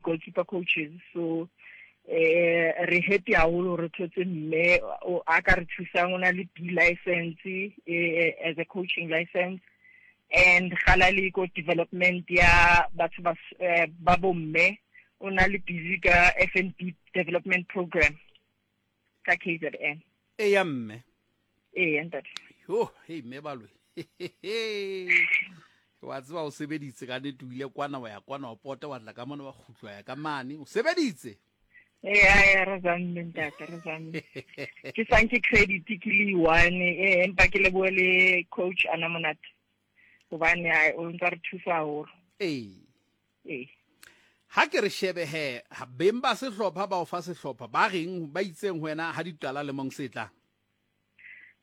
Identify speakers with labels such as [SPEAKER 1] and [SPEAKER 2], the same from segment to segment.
[SPEAKER 1] di-goalkeeper coaches. So eh re happy haholo re thotse mme a ka re thusang, o na le B license eh, as a coaching license, and gala le ko development ya batho ba eh, ba bomme, o na le busy ka FNB development program ka KZN.
[SPEAKER 2] E ya mme.
[SPEAKER 1] E ya ntate.
[SPEAKER 2] Yo, hey mme balwe. Wa tseba o sebeditse ka nnete, o ile kwana wa ya kwana wa pota wa tla ka mona wa kgutlwa ya ka mane, o sebeditse.
[SPEAKER 1] Ee, a re zamme ntate, re zamme. Ke sanke credit ke le one, ee, empa ke lebohe le coach ana monate hobane o ntsa re thusa haholo.
[SPEAKER 2] Ee.
[SPEAKER 1] Ee.
[SPEAKER 2] Ha ke re shebe he, beng ba sehlopha ba o fa sehlopha ba reng, ba itseng ho wena ha di qala lemong se tlang?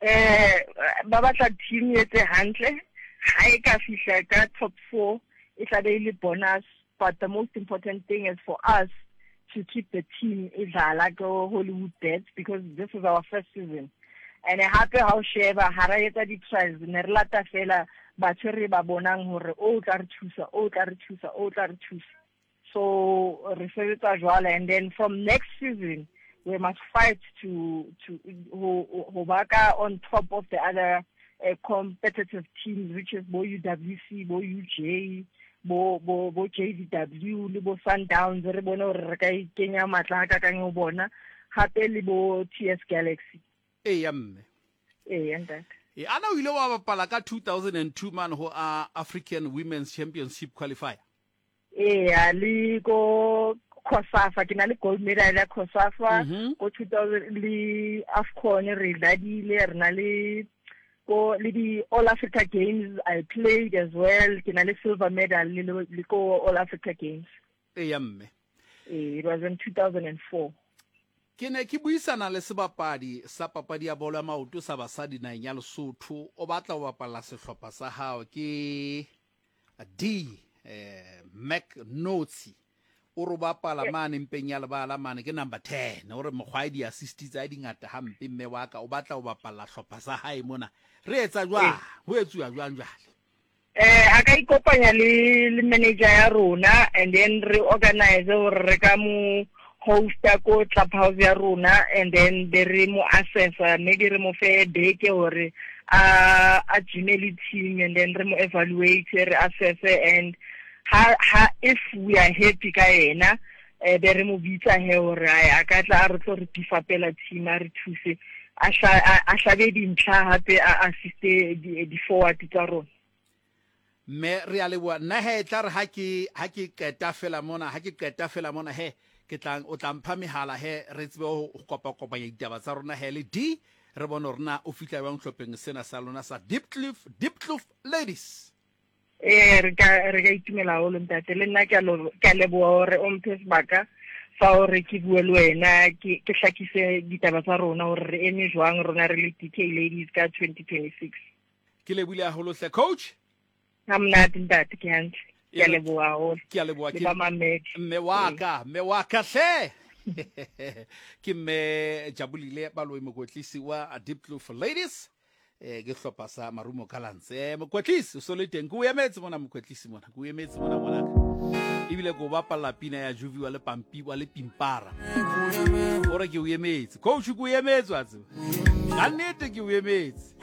[SPEAKER 1] Eh, ba batla team e etse hantle, ha e ka fihla ka top 4 e tla be e le bonus, but the most important thing is for us to keep the team e dlala ko Hollywood Bets because this is our first season. And hape ha o sheba ha ra etsa di-trials, ne re lata fela batho re ba bonang hore o tla re thusa, o tla re thusa, o tla re thusa. So re sebetsa jwalo, and then from next season we must fight to ho ba ka on top of the other competitive teams, which is bo UWC, bo UJ, bo JVW le bo Sundowns. Re bone hore re ka ikenya matla ha kakang ho bona, hape le bo TS Galaxy.
[SPEAKER 2] E ya mme.
[SPEAKER 1] E ya ntate.
[SPEAKER 2] E ana o ile wa bapala ka 2002 man ho a African Women's Championship qualifier.
[SPEAKER 1] Eya, le ko COSAFA ke na le gold medal ya COSAFA ko 2000, le AFCON re ladile, re na le ko le di All Africa Games I played as well, ke na le silver medal le ko All Africa Games.
[SPEAKER 2] E ya mme.
[SPEAKER 1] Ee, it was in 2004.
[SPEAKER 2] Ke ne ke buisana le sebapadi sa papadi ya bolo ya maoto sa basadi naheng ya Lesotho, o batla ho bapalla sehlopha sa hao, ke D eh, Mac Notsi, o re o bapala mane mpeng ya lebala mane, ke number 10, o re mokgwa e di-assist tsa di ngata hampe, mme wa ka o batla ho bapalla hlopha sa hae mona, re etsa jwang, ho etsuwa jwang jwale?
[SPEAKER 1] Eh, a ka ikopanya le manager ya rona, and then re organize hore re ka mo hosta ko clubhouse ya rona, and then be re mo assessa, maybe re mo fe beke hore a gyme le team, and then re mo evaluate, re assesse, and ha if we are happy ka yena, eh, be re mo bitsa he hore a ka tla a re tlo re bifapela team, a re thuse, a hlabe dintlha, hape a assiste di forward tsa rona.
[SPEAKER 2] Mme re a leboha. Nna he tla re ha ke qeta fela mona, ha ke qeta fela mona he ke tla o tla mpha mehala he re tsebe ho kopakopanya ditaba tsa rona he le D, re bone hore na o fihla jwang hlopheng sena sa lona sa Diepkloof, Diepkloof Ladies.
[SPEAKER 1] Ee, re ka itumela haholo ntate, le nna ke a leboha hore o mphe sebaka fa hore ke bue le wena, ke hlakise ditaba tsa rona hore re eme jwang rona re le DK Ladies ka 2026.
[SPEAKER 2] Ke lebohile haholo hle coach.
[SPEAKER 1] Ha monate ntate, ke hantle. Ke a leboha haholo.
[SPEAKER 2] Ke a leboha
[SPEAKER 1] ke mamedi.
[SPEAKER 2] Mme wa ka, mme wa ka hle. Ke mme Jabulile Baloyi, mokwetlisi wa Diepkloof Ladies. Eh, ke hlopha sa Marumo Gallants. Eh, mokwetlisi o so le teng, ke o emetse mona mokwetlisi mona, ke o emetse mona ngwanaka. Ebile ke o bapalla pina ya Juviwa le Pampi wa le Pimpara. O re ke o emetse. Coach, ke o emetse wa tseba. Ka nnete ke o emetse.